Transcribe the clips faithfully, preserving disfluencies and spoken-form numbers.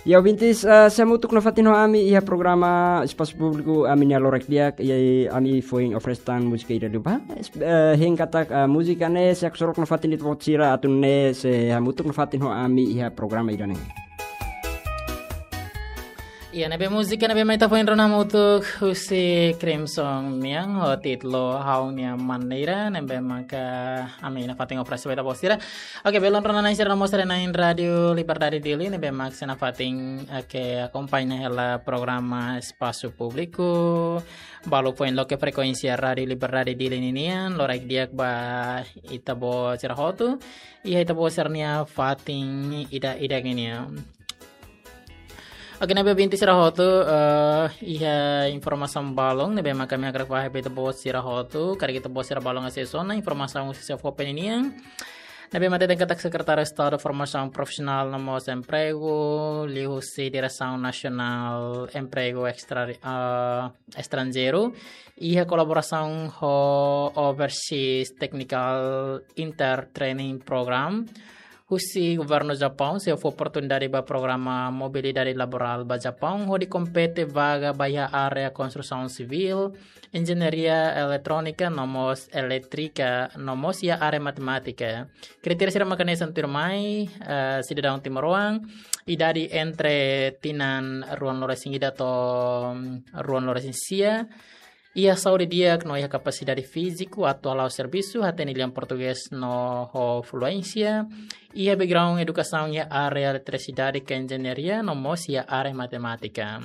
Ya, ouvintes, eh, sei hamutuk nafatin ho ami iha programa Espasu Públiku, ami-nia loron di'ak, i ami foin oferese tan múzika ida liubá. Es-, eh, hein katak, eh, múzika ne'e sei haksolok nafatin ita-boot sira, atu nune'e sei hamutuk nafatin ho ami iha programa ida-ne'e. Iya, ne'ebé múzika ne'ebé mai ita foin rona hamutuk husi Crimson nian ho títulu Ha'u-nia Maneira, ne'ebé maka ami nafatin oferese ba ita-boot sira. Oke, belun rona-na'in sira no mós haree-na'in Rádiu Liberdade Dili, ne'ebé mak sei nafatin, oke, akompaña hela programa Espasu Públiku. Balu foin loke frekuénsia Rádiu Liberdade Dili ninian, loraik di'ak ba ita-boot sira hotu. Iha ita-boot sira-nia fatin ida-idak ninian. Oke, ne'ebé ouvinte sira hotu, eh, iha informasaun balun ne'ebé maka ami hakarak fahe ba ita-boot sira hotu, karik ita-boot sira balun asesu ona informasaun husi SEFOPE ninian. Ne'ebé mak hateten katak Sekretáriu Estadu Formasaun Profisionál no mós Empregu, liuhusi Diresaun Nasionál Empregu Estra-, eh, Estranjeiru, iha kolaborasaun ho Overseas Technical Inter Training Program, husi Governu Japaun, sei fó oportunidade ba programa mobilidade laborál ba Japaun, hodi kompete vaga ba iha área konstrusaun sivíl, enjeñaria eletrónika, no mós elétrika, no mós iha área matemátika. Kritéria sira mak hanesan tuirmai, eh, sidadaun timoroan, idade entre tinan ruanulu-resin-ida to'o, mm, ruanulu-resin-sia, iha saúde di'ak no iha kapasidade fíziku atu hala'o servisu, hatene lian portugés no ho fluénsia, iha background edukasaun iha área eletrisidade ka enjeñaria, no mós iha área matemátika.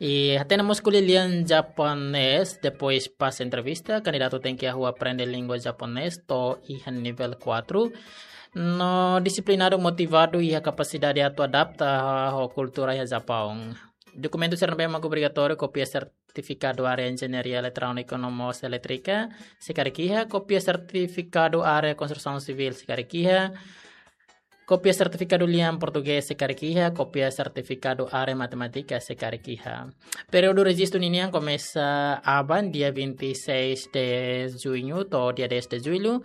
I hatene mós ko'alia lian japonés, depois pas entrevista, kandidatu tenke hahú aprende língua japonés to'o iha nivel kuatru. No disiplinadu, motivadu, iha kapasidade atu adapta ho kultura iha Japaun. Dokumentu sira ne'ebé mak obrigatóriu, kópia sertifikadu área enjeñaria eletrónika no mós elétrika, se karik iha, kópia sertifikadu área konstrusaun sivíl, se karik iha, kópia sertifikadu lian portugés, se karik iha, kópia sertifikadu área matemátika, se karik iha. Períodu rejistu ninian komesa aban dia vinte e seis de junho to'o dia dez de julho.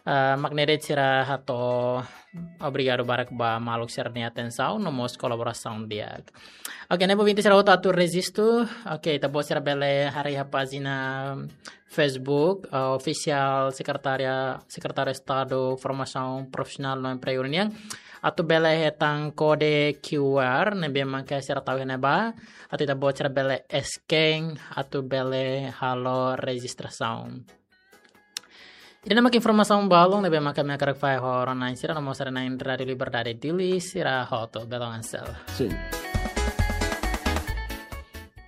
Ah, mak ne'e de'it, sira hato'o obrigadu barak ba maluk sira-nia atensaun no mós kolaborasaun di'ak. Oke, ne'ebé ouvinte sira hotu atu rejistu. Oke, ita-boot sira bele haree iha pájina Facebook, eh, ofisiál Sekretária, Sekretáriu Estadu Formasaun Profisionál no Empregu nian. Atu bele hetan kode Q R, ne'ebé maka sira tau iha ne'ebá. Atu ita-boot sira bele scan, atu bele halo rejistrasaun. Ida-ne'e mak informasaun balun ne'ebé maka ami hakarak fahe ho rona-na'in sira no mós haree-na'in Rádiu Liberdade Dili sira hotu, belun Ansel. Sin.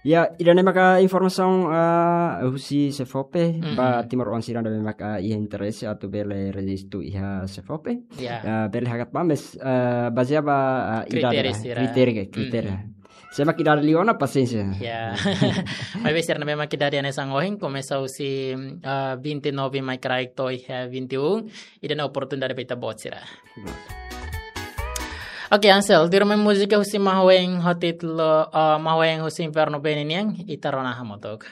Ya, ida-ne'e maka informasaun, ah, husi SEFOPE, mm-mm, ba timoroan sira ne'ebé maka iha interese atu bele rejistu iha SEFOPE. Ya. Ah, bele hakat ba, mais, ah, bazeia ba, ah, idade, kritériu ba, sira. Kritériu, kritériu. Mm-mm. Se mak idade liu ona, pasiénsia. Ya. Maibé sira ne'ebé mak idade hanesan ohin, komesa husi, ah, vinte e nove mai kraik to'o iha vinte e um, ida-ne'e oportunidade ba ita-boot sira. Oke, Ansel, tuirmai múzika husi Mahuen ho títulu, ah, Mahuen husi Infernu Bene nian, ita rona hamutuk.